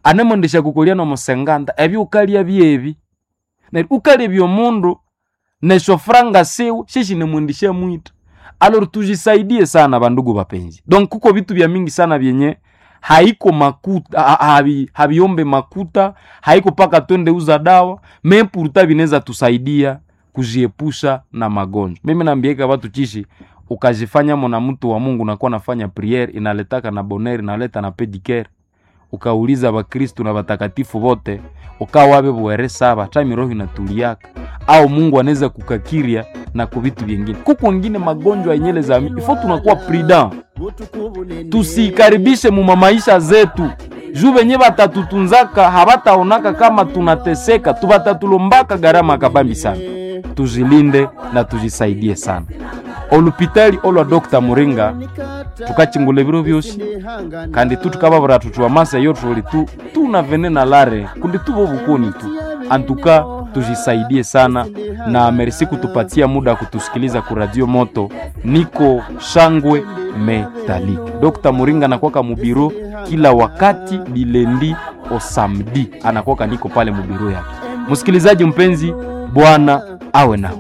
Anemwendesha kukolya nomusenganda ebyo ukalya byebi. Neryo ukalebya omundu neshofranga siwe sheshinemwendesha mwita. Alors tujisaidie sana bandugu bapenzi. Donc kuko vitu vya mingi sana vyenye haiko makuta haviombe makuta, haiko paka twende uza dawa, mais pourtant vinaweza tusaidia kujiepusha na magonjwa. Mimi naambieka watu chishi, ukajifanya mwana mtu wa Mungu nakuwa nafanya priere inaletaka na bonheur, inaleta na pedicare. Ukauliza Bakristu na batakatifu vote ukawabe bwere saba tami roho inatuliaka au Mungu anaweza kukakiria na kuvitu vyengine. Kuko wengine magonjwa yenyele za ifo, tunakuwa prudent, tusikaribishe mu maisha zetu juu venye batatutunzaka habataonaka kama tunateseka, tubatatulombaka gharama kabambi sana. Tujilinde na tujisaidie sana. Olupitali olwa Dr. Muringa tukachingula ebiro byosi kandi tu tukababura tutu amasa yo tuli tu tuna venena lare kundi tubo bukoni tu antuka tujisaidie sana na merci kutupatia muda kutusikiliza ku Radio Moto. Niko Shangwe Metalik. Dr. Muringa anakuwaka mubiro kila wakati dilendi o samedi anakuwaka niko pale mubiro yake. Msikilizaji mpenzi, Bwana awe nao.